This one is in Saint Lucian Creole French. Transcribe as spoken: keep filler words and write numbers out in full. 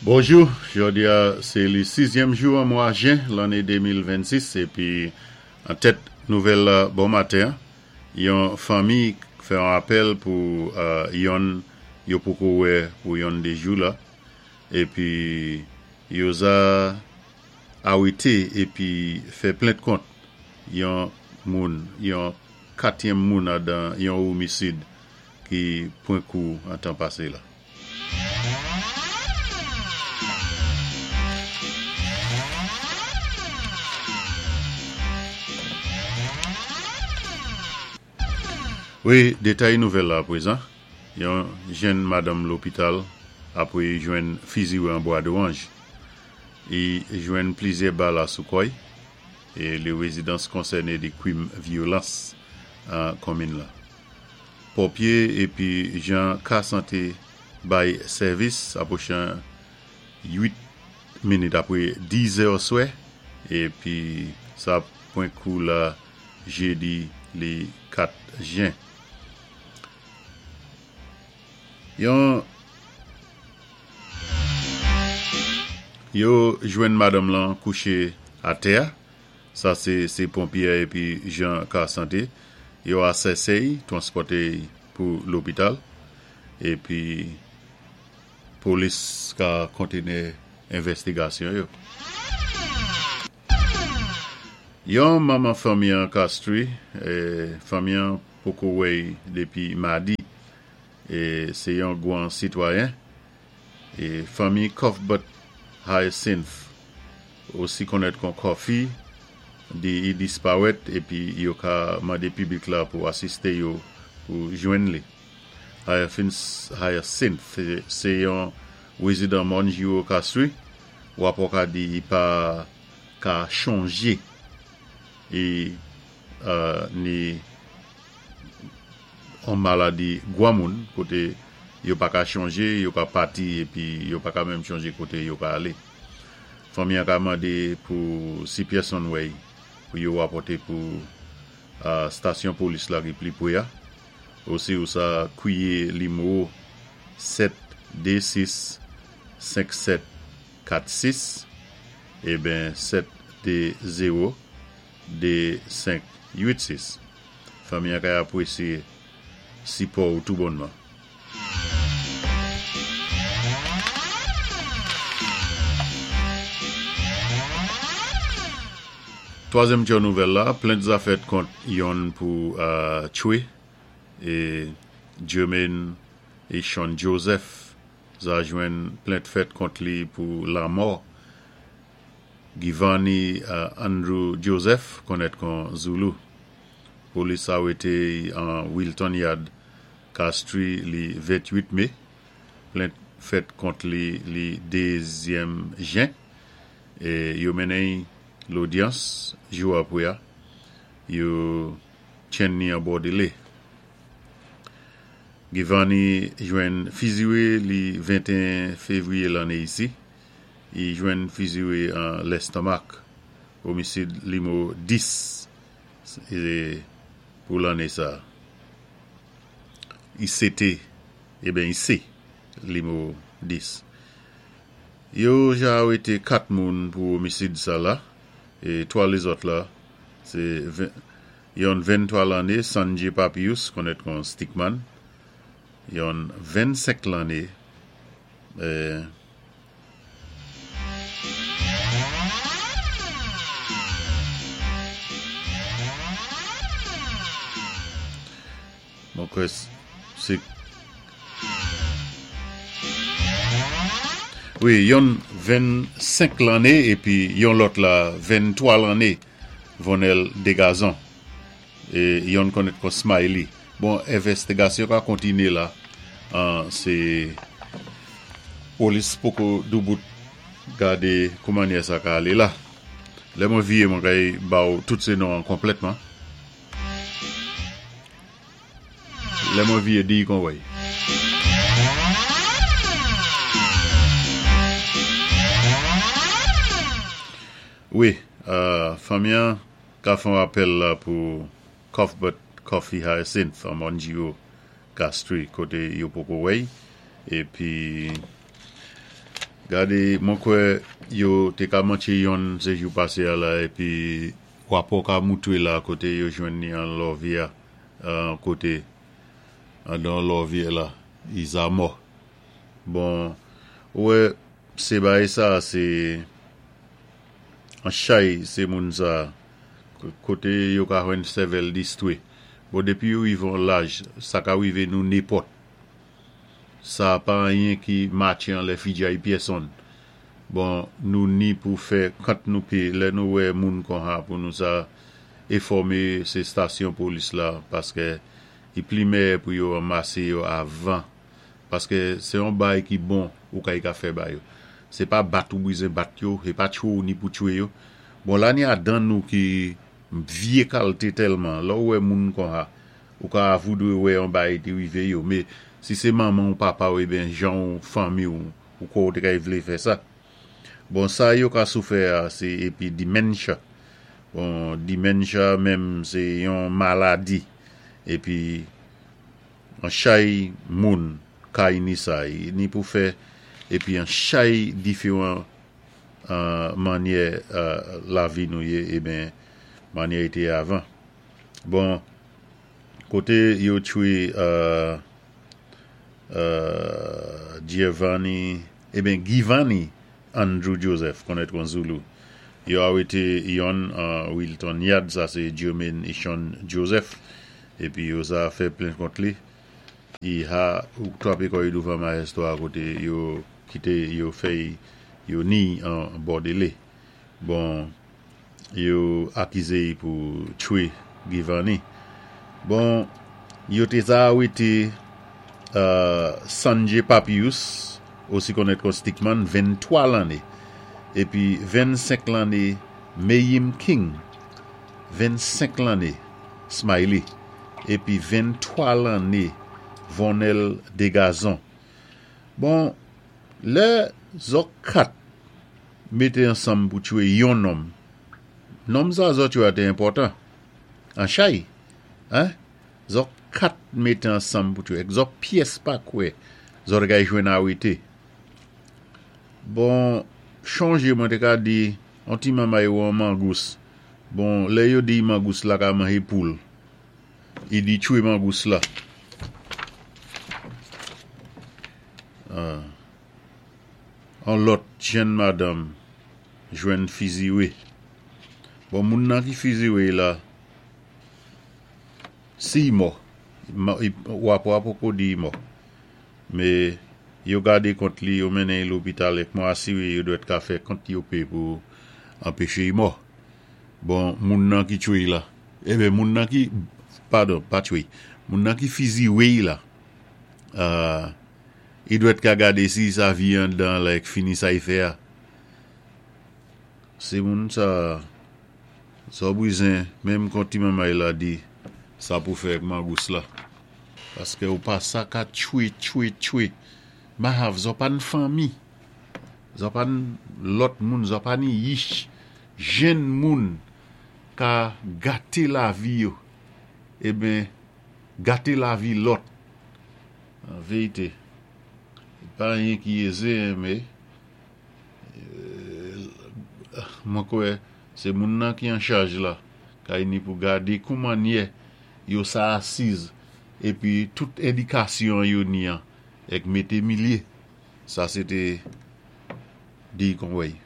Bonjou, jòdi a sé li sizyèm jou an mwa jen lanné de mil vennsis épi an tèt nouvèl la bon maten, yon fanmi fè yon apèl pou euh, yonn yo poko wè pou yon dé jou la épi yo za arété épi fè plent kont yon moun, yon katyèm moun adan yon omisid ki pwan kou an tan pasé la. Wi, détay nouvèl la apwézan, yon jenn madanm lopital apwé jwenn fiziwé an Bwa Dowanj. I jwenn plizyè bal a sou kò-y é li rézidans konsèné di kwim vyolans an konminn la. Ponpyé épi jan ka santé bay sèvis apwochan uit minit apwé diz è oswè épi sa pwan kou la jédi li kat jen. Yon yo jwenn madanm lan kouché atè, sa sé sé ponpyé épi jan ka santé, yo asèsé-y, twanspòté-y pou lopital épi polis ka kontiné envèstigasyon yo. Yon manman fanmi an Castries, é, fanmi an poko wè-y dépi madi é sé yon gwan sitwayen é fanmi Cuthbert Hyacinth osi konnèt kon Coffee di i disparèt épi yo ka mandé piblik la pou asisté yo pou jwenn li. Hyacinth sé yon wézidan Mòn Giraud Castries, wapò ka di i pa ka chonjé é euh, ni an maladi gwan moun koté yo pa ka chonjé, yo ka pati épi yo pa ka menm chonjé koté yo ka alé. Fanmi an ka mandé pou si pèsonn wè-y pou yo wapòté pou euh, stasyon polis la ki pli pwé a. Osi ou sa kwiyé nimewo sèt dé sis senk sèt kat sis eben sèt dé zewo dé senk uit sis. Fanmi an ka apwésyé sipò ou tou bonnman. Twazyèm ti nouvèl la, plent za fèt kont yonn pou euh, tchwé é Jermaine é Sean Joseph za jwenn plent fèt kont li pou lanmò Giovanni euh, Andrew Joseph konnèt kon Zulu. Polis arété an Wilton Yard, Castries li venn-tuit mé. Plent fèt kont li li dézyèm jen é yo mennen lodyans jou apwé a. Yo tjenn ni an bòdélé. Giovanni jwenn fiziwé li venteyen févwiyé lanné isi. I jwenn fiziwé an lèstomak. Omisid nimewo dis é pou lanné sa. I sé té, eben i sé nimewo dis. Yo ja arété kat moun pou omisid sa la é twa lézòt la, sé yon venntwa lanné Sanjay Papius konnèt kon Stickman, yon vennsenk lanné euh, mwen kwè sé wi, yon vennsenk lanné épi yon lòt la venntwa lanné Vonel Degazon é yonn konnèt kon Smiley. Bon, envèstigasyon ka kontiné la, euh, sé polis poko doubout gadé kouman sa ka alé la. Lè mwen viyé mwen kay ba ou tout sé non konplètman. Lè mwen viyé di kon wèy. Wi, euh, fanmi an ka fè apèl la pou Cuthbert Coffee Hyacinth an Mòn Giraud Castries koté yo poko wè-y épi Gadé, mwen kwè yo té ka mantché yonn sé jou pasé a la épi wapò ka moutwé la koté yo jwenn ni an lòvyè koté andan lòvyè la, i sa mò. Bon, ou wè, sé bagay sa sé an chay sé moun sa koté yo ka jwenn sèvèl distwé. Bon, dépi yo wivé an laj, sa ka wivé nou nenpòt. Sa pa anyen ki matché anlè fidjay pyèsonn. Bon, nou ni pou fè kant nou pé, lè nou wè moun konsa pou nou sa enfòmé sé stasyon polis la, paské i pli mèyè pou yo anmasé yo avan. Paské sé yon bay ki bon ou ka y ka fè ba yo. Sé pa bat ou bizwen bat yo, sé pa tchwé ou ni pou tchwé yo. Bon, la ni adan nou ki vyé kalté tèlman, lè ou wè moun konsa, ou ka voudwé wè yon bay té wivé yo, mé si sé manman ou papa ou ébyen jan ou fanmi ou, ou kwè ou té kay vlé fè sa. Bon, sa yo ka sou fè a, sé épi dementia. Bon, dementia menm sé yon maladi. Épi, an chay moun kay ni sa, ni pou fè, épi an chay diféwan mannyè lavi nou yé, ébyen, mannyè i té avan. Bon, koté yo tchwé Giovanni, ébyen Giovanni Andrew Joseph, konnèt kon Zulu. Yo arété yonn an Wilton Yard, sa sé Jermaine Ishon Joseph, épi yo sa fè plent kont li. I ha ou twapé kò i douvan majistra koté yo kité yo fè yo ni an bòdélé. Bon, yo akizé i pou tchwé Giovanni. Bon, yo té sa arété Sanjay Papius, osi konnèt kon Stickman, venntwa lanné. Épi vennsenk lanné Mayim King, vennsenk lanné Smiley. Épi venntwa lanné Vonel Degazon. Bon, lè zòt kat mété ansanm pou tchwé yon nonm. Nonm sa zòt tchwé a té enpòtan. An chay, hein? Zòt kat mété ansanm pou tchwé. Zòt pyès pa kwè zòt kay jwenn arété. Bon, chonjé mwen té ka di, an ti manmay ou an mangous. Bon, lè yo di mangous la ka manjé poul. I di tchwé mangous la. An lòt jenn madanm jwenn fiziwé. Bon, moun nan ki fiziwé la, si i mò, wapò a poko di i mò. Mé yo gadé kont li, yo mennen lopital èk mwen asiwé yo dwèt ka fè kant yo pé pou anpéché i mò. Bon, moun nan ki tchwé la, ébyen moun nan ki, padon, pa tchwé, moun nan ki fiziwé la, i dwèt ka gadé si sa vi andan la èk fini sa i fè a. Sé moun sa, sa bizwen, menm kon ti manmay la di, sa pou fè èk mangous la. Paské ou pa sa ka tchwé, tchwé, tchwé. Mahav, zò pa n fanmi. Zò pa n lòt moun, zò pa ni yich. Jenn moun ka gaté lavi yo. Ébyen, gaté lavi lòt. An vérité, pa anyen ki ézé, mé mwen kwè sé moun nan ki an chaj la, kay ni pou gadé kou mannyè yo sa asiz, épi tout endikasyon yo ni an, èk mété milyé. Sa sé té di kon wèy.